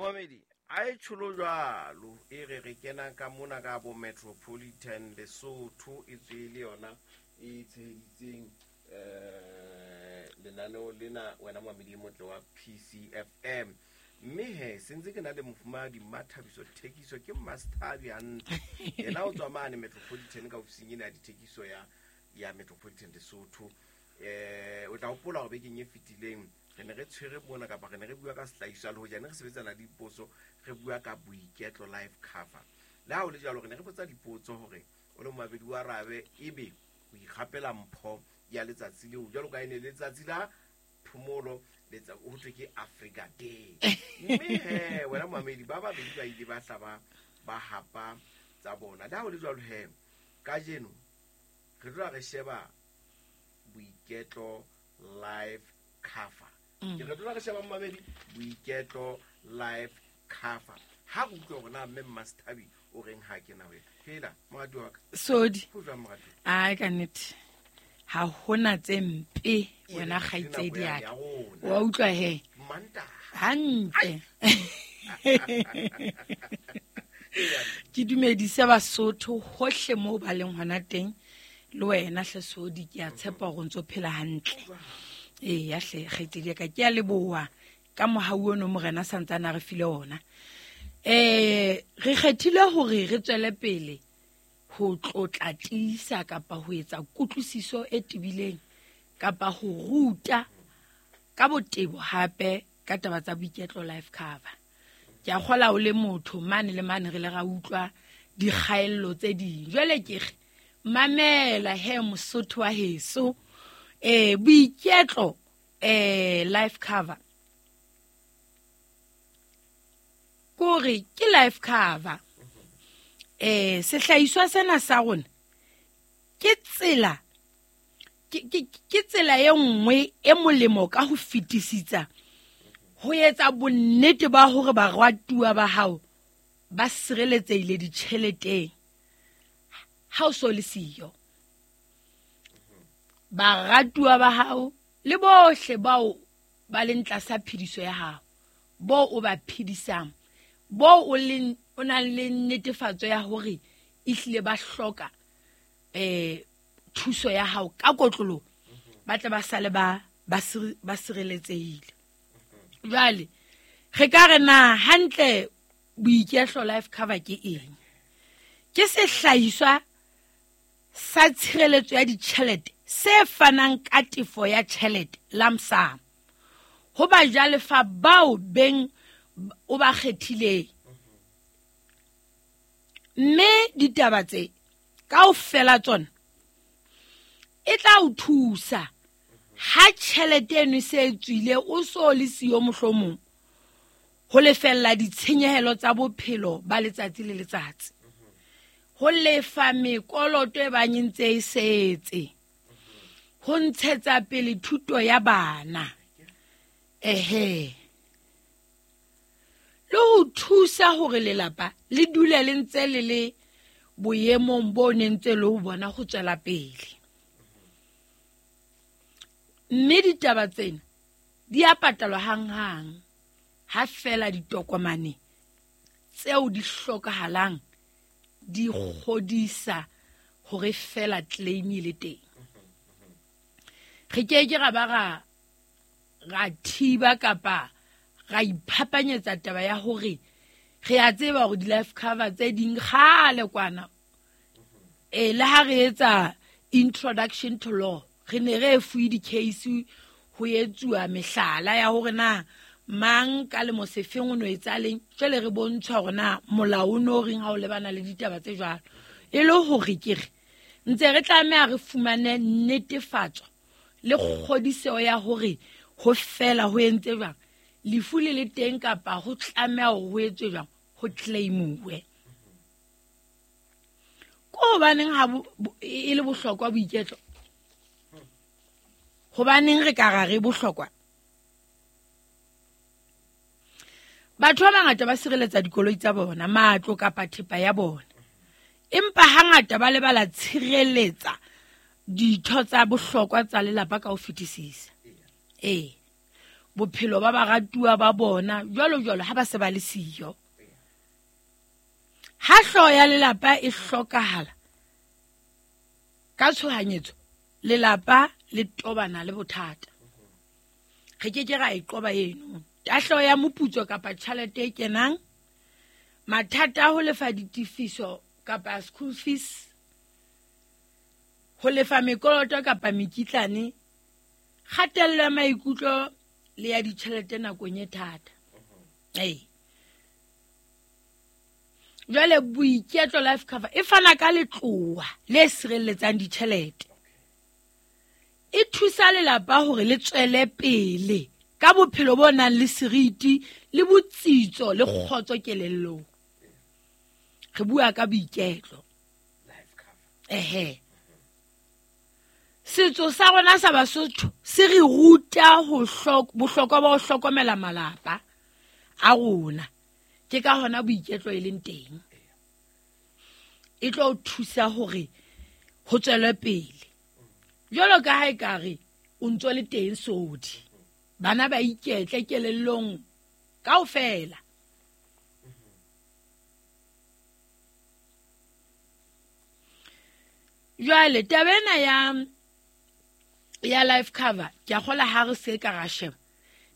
Momamedi, a e tsholo jwalo e re re kena ka mona ka bo Metropolitan Lesotho e tswe le yona e tsheheditseng lenaneo lena wena momamedi e motle wa PCFM. Mme he sentse ke na le mofumahadi Mmathabiso Thekiso, ke Mmastabi hantle. Yena o tswa mane Metropolitan ka ofising ena ya dithekiso ya Metropolitan Lesotho. O tla hopola hore bekeng e fetileng re ne re tshwere mona kapa re ne re bua ka sehlahiswa le hoja ne re sebetsana le dipotso, re bua ka boiketlo life cover. Le ha ho le jwalo, re ne re botsa dipotso hore o le momamedi wa arabe ebe o ikgapela mpho ya letsatsi leo, jwalo ka e ne letsatsi la phomolo, ho thwe ke Africa Day. Mme he wena momamedi, ba babedi ba ile ba hla ba hapa tsa bona. Le ha ho le jwalo he, kajeno re tloha re sheba boiketlo life cover. Ke re tloha re sheba momamedi boiketlo life cover. Ha re utlwe hore na mme Mmastabi o reng ha ke na wena. Hela, morati wa ka. Sodi. Ho jwang, morati? Ai, ka nnete. Ha hona tse mpe wena Ke nako kgaitsedi ya ya ka. rona. Wa utlwa he? Mantaha. Hantle. Ai. Ke dumedise Basotho hohle moo ba leng hona teng. Le wena hle Sodi, ke a tshepa hore o ntso phela hantle. Eya hle kgaitsedi ya ka, ke a leboha ka mohau ono morena santsane a re file ona. Re kgethile hore re tswele pele ho tlotla tiisa kapa ho etsa kutlwisiso e tebileng kapa ho ruta ka botebo hape ka taba tsa boiketlo life cover. Ke a kgola o le motho mane le mane re le ra utlwa dikgaello tse ding. Jwale ke re mamela he Mosotho wa heso, boiketlo life cover kore ke life cover. Sehlahiswa sena sa rona ke tsela ke tsela e nngwe e molemo ka ho fetisisa ho etsa bonnete ba hore baratuwa ba hao ba sireletsehile ditjheleteng ha o so le siyo. Baratuwa ba hao le bohle bao ba leng tlasa phediso ya hao, bo o ba phedisang, bo o leng o nang le netefatso ya hore ehlile ba hloka thuso ya hao ka kotloloho, ba tle ba sale ba sireletsehile. Jwale re ka re na hantle boiketlo life cover ke eng? Ke sehlahiswa sa tshireletso ya ditjhelete se fanang ka tefo ya tjhelete lump sum ho bajalefa bao beng o ba kgethileng. Mme ditaba tse kaofela tsona e tla o thusa ha tjhelete eno e se e tswile, o so le siyo mohlomong ho lefella ditshenyehelo tsa bophelo ba letsatsi le letsatsi, ho lefa mekoloto e bang e ntse e setse, ho ntshetsa pele thuto ya bana, ehe, le ho thusa hore lelapa le dule le ntse le le boemong bo ne ntse le ho bona ho tswela pele. Mme ditaba tsena di a patalwa hanghang ha fela ditokomane tseo di hlokahalang di kgodisa hore fela claim e le teng. Re ke ke ra ba ra thiba kapa ra iphapanyetsa taba ya hore re a tseba hore di-life cover tse ding kgale kwana, le ha re etsa introduction to law, re ne re fuwe di-case ho etsuwa mehlala ya hore na mang ka lemo sefeng o no etsa leng. Jwale re bontshwa hore na molao o no reng ha o lebana le ditaba tse jwalo. E le hore ke re ntse re tlameha re fumane netefatso le kgodiseho ya hore ho fela ho entse jwang, lefu le le teng kapa ho tlameha hore ho etswe jwang, ho claimuwe. Ko hobaneng ha e le bohlokwa boiketlo? Hobaneng re ka ra re bohlokwa? Batho ba bangata ba sireletsa dikoloi tsa bona, matlo kapa thepa ya bona, empa hangata ba lebala tshireletsa ditho tsa bohlokwa tsa lelapa ka ho fetisisa. Bophelo ba baratuwa ba bona jwalo jwalo ha ba se ba le siyo. Ha hlooho ya lelapa e hlokahala ka tshohanyetso, lelapa le tobana le bothata. Re ke ke ra e qoba eno. Tahleho ya moputso kapa tjhelete e kenang, mathata a ho lefa ditefiso kapa school fees, ho lefa mekoloto kapa mekitlane, kgatello ya maikutlo le ya ditjhelete nakong e thata. Ee. Jwale Boiketlo Life Cover e fana ka letlowa le sireletsang ditjhelete. E thusa lelapa hore le tswele pele ka bophelo bo nang le seriti le botsitso le kgotso kelellong. Re bua ka Boiketlo. Ehe. Setso sa rona sa Basotho se re ruta ho bohlokwa ba ho hlokomela malapa a rona. Ke ka hona Boiketlo e leng teng. E tlo thusa hore ho tswelwe pele. Jwalo ka ha ekare o ntso le teng sodi. Bana ba iketle kelellong kaofela. Jwale taba ena ya life cover ke a kgola ha re se ka ra sheba.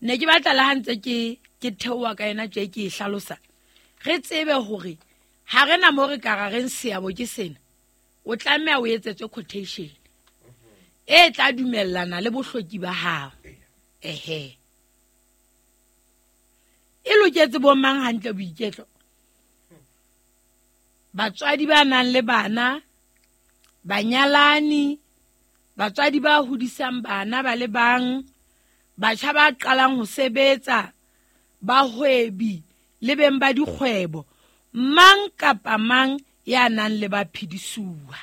Ne ke batla le ha ntse ke theoha ka yena tje ke e hlalosa. Re tsebe hore ha re na mo re ka ra reng seabo ke sena. O tlameha o etsetswe quotation e tla dumellana le bohloki ba hao. Ehe. E loketse bo mang hantle Boiketlo? Batswadi ba nang le bana, banyalani, batswadi ba hodisang bana ba le bang, batjha ba qalang ho sebetsa, bahwebi le beng ba dikgwebo, mang kapa mang ya nang le baphedisuwa.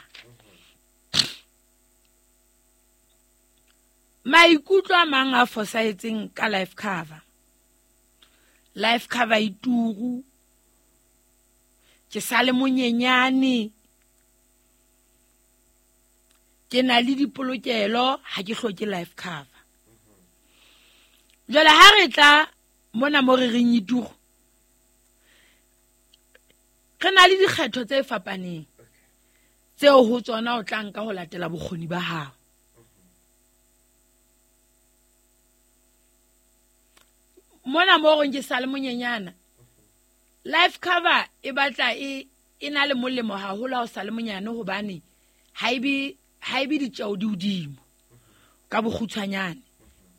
Maikutlo a mang a fosahetseng ka life cover. Life cover e turu, ke sa le monyenyane, ke na le dipolokelo, ha ke hloke life cover. Jwale ha re tla mona mo re reng e turu, re na le dikgetho tse fapaneng tseo ho tsona o tla nka ho latela bokgoni ba hao. Mona mo reng ke sa le monyenyana, life cover e batla e na le molemo haholo ha o sa le monyane, hobane ha e be ditjeo di hodimo ka bokgutshwanyane.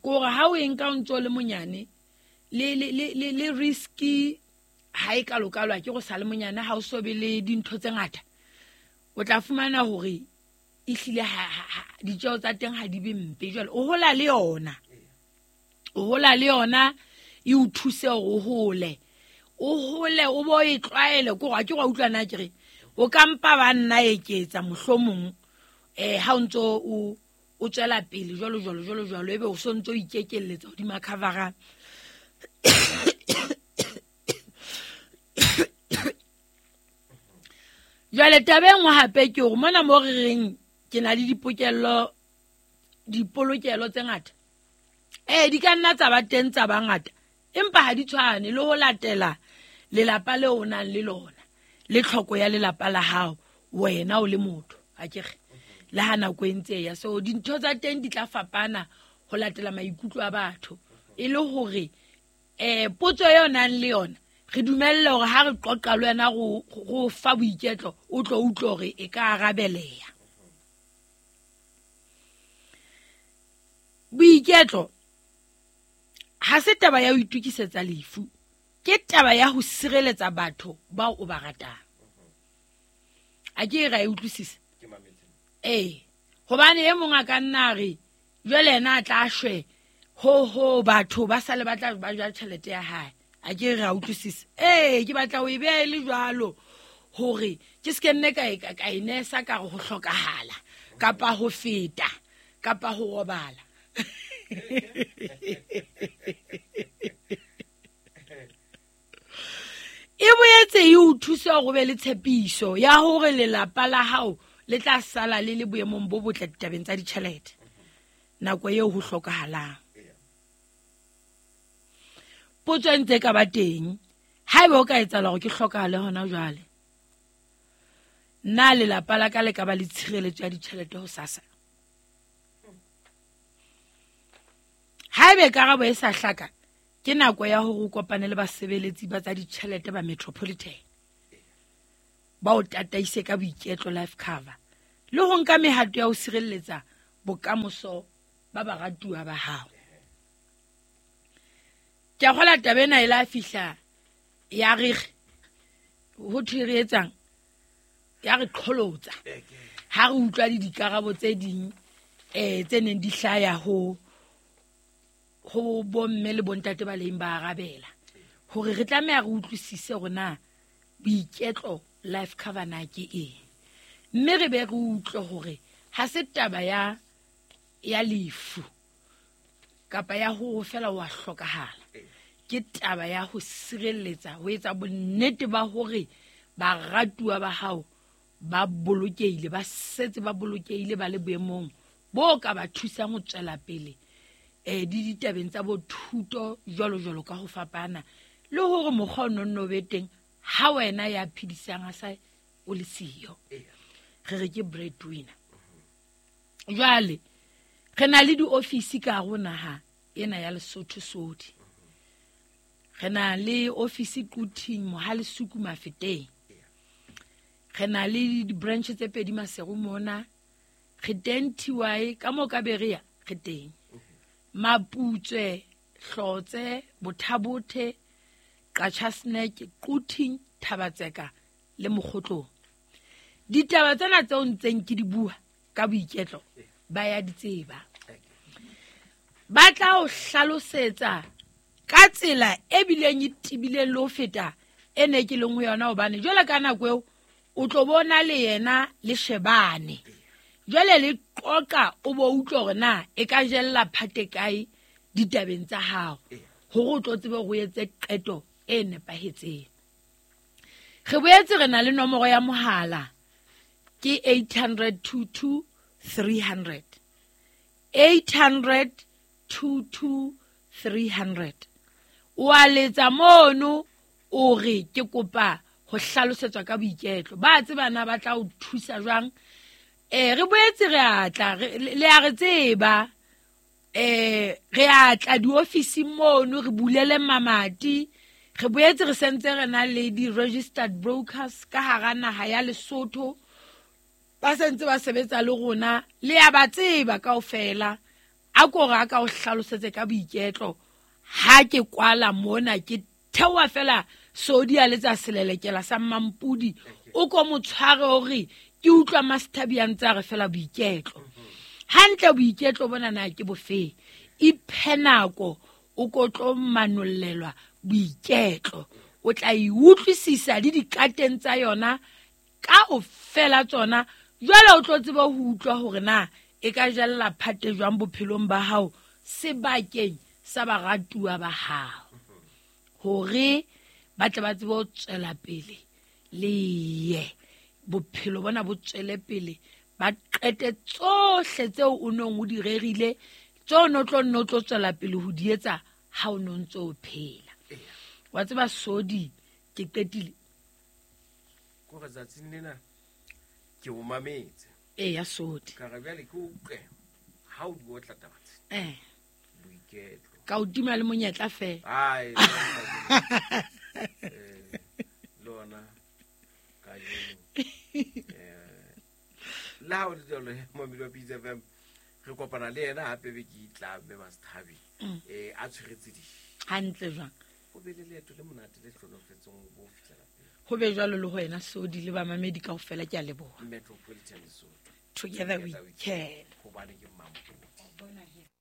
Ke hore ha o e nka o ntso le monyane, le risky ha e kalokalo, ha ke go sa le monyane, ha o so be le dintho tse ngata, o tla fumana hore ehlile ditjeo tsa teng ha di be mpe. Jwale o hola le yona, o hola le yona e o thuse hore o hole, o hole o bo e tlwaele. Ke hore ha ke go utlwa na ke re o ka mpa ba nna eketsa mohlomong, ha o ntso o tswela pele jwalo jwalo jwalo jwalo, ebe o so ntso ikekelletsa hodima cover-a. Jwale taba e nngwe hape ke hore mona mo re reng ke na le dipolokelo tse ngata. Di ka nna tsa ba teng tsa ba ngata, empa ha di tshwane le ho latela lelapa leo o nang le lona, le tlhoko ya lelapa la hao, wena o le motho, ha ke re, le ha nako e ntse e ya. So dintho tsa teng di tla fapana ho latela maikutlo a batho, e le hore potso eo nang le yona re dumelle hore ha re qoqa le wena go fa Boiketlo, o tlo utlwe hore e ka arabeleha. Boiketlo ha se taba ya ho itokisetsa lefu, ke taba ya ho sireletsa batho bao o ba ratang. A ke ra e utlwisisa? Ee, hobane e mong a ka nna a re jwale yena a tla shwe, ho batho ba sa le batla ba ja tjhelete ya hae. A ke ra utlwisisa? Ee, ke batla ho e beha e le jwalo hore ke se ke nne ka e nesa ka re ho hlokahala kapa ho feta kapa ho robala. E boetse e o thusa hore o be le tshepiso ya hore lelapa la hao le tla sala le le boemong bo botle ditabeng tsa ditjhelete nako eo ho hlokahalang. Potso e ntse e ka ba teng, haeba o ka etsahala hore ke hlokahale hona jwale, na lelapa la ka le ka ba le tshireletso ya ditjhelete hosasa? Haebe karabo e sa hlaka, ke nako ya hore o kopane le basebeletsi ba tsa ditjhelete ba Metropolitan, ba o tataise ka Boiketlo Life Cover le ho nka mehato ya ho sireletsa bokamoso ba baratuwa ba hao. Ke a kgola taba ena e la fihla ya re ho thwe re etsang, ya re qholotsa ha re utlwa le dikarabo tse ding tse neng di hlaya ho bomme le bontate ba leng ba arabela, hore re tlameha re utlwisise hore na Boiketlo Life Cover na ke eng, mme re be re utlwe hore ha se taba ya lefu kapa ya ho fela wa hlokahala, ke taba ya ho sireletsa, ho etsa bonnete ba hore baratuwa ba hao ba bolokehile, ba setse ba bolokehile, ba le boemong bo ka ba thusang ho tswela pele di ditabeng tsa bo thuto jwalo jwalo ka ho fapana, le hore mokgwa o nonno be teng ha wena ya phedisang a sa o le siyo. Re re ke breadwinner. Jwale re na le diofisi ka hare ho naha ena ya Lesotho Sodi. Re na le ofisi Quthing, Mohale Suku, Mafeteng. Re na le di-branch tse pedi Maseru mona. Re teng TY ka moo ka Berea, re teng. Maputswe, Hlotse, Bothabothe, Qacha's Nek, Quthing, Thabatseka le Mokgotlong. Ditaba tsena tseo ntseng ke di bua ka Boiketlo ba ya di tseba. Ba tla o hlalosetsa ka tsela e bileng e tebileng le ho feta e ne ke leng ho yona, hobane jwale ka nako eo o tlo bona le yena le shebane. Jwale le qoqa o bo utlwe hore na e ka jella phate kae ditabeng tsa hao, hore o tlo tsebe hore o etse qeto e nepahetseng. Re boetse re na le nomoro ya mohala ke 800 22 300. 800 22 300. O a letsa mono o re ke kopa ho hlalosetswa ka Boiketlo. Ba tseba na ba tla o thusa jwang. Re boetse re a tla, le a re tseba, re a tla diofising mono, re bulele mamati. Re boetse re sentse re na le di-registered brokers ka hara naha ya Lesotho, ba sentse ba sebetsa le rona, le a ba tseba kaofela. A ko re a ka o hlalosetse ka Boiketlo. Ha ke kwala mona ke theoha fela Sodi a letsa selelekela sa Mampudi, o ko mo tshware hore ke utlwa Master a ntse a re fela Boiketlo. Hantle Boiketlo bona na ke bofeng? Iphe nako o ko tlo manollelwa Boiketlo. O tla e utlwisisa le dikateng tsa yona kaofela tsona. Jwale o tlo tseba ho utlwa hore na e ka jella phate jwang bophelong ba hao sebakeng sa baratuwa ba hao, hore ba tle ba tsebe ho tswela pele le ye bophelo bona bo tswele pele, ba qete tsohle tseo o nong o di rerile, tseo o no tlo nno tlo tswela pele ho di etsa ha o no ntso o phela. Wa tseba Sodi, ke qetile. Kore tsatsing lena ke o mametse. Eya, Sodi. Ka re bjale ke utlwe ha o di otla taba tse. Boiketlo. Ka o tima le monyetla feela. Ai, le ona kajeno. Le ha o le jwalo, momedi wa Pitse FM, re kopana le yena hape be ke itla mme Master a tshweretse di. Hantle jwang? O be le leeto le monate le hlolofetseng ho bo fihla lapeng. Ho be jwalo le ho wena Sodi le bamamedi kaofela, ke a leboha. Metropolitan Lesotho. Together we can. Hobane ke Mampudi.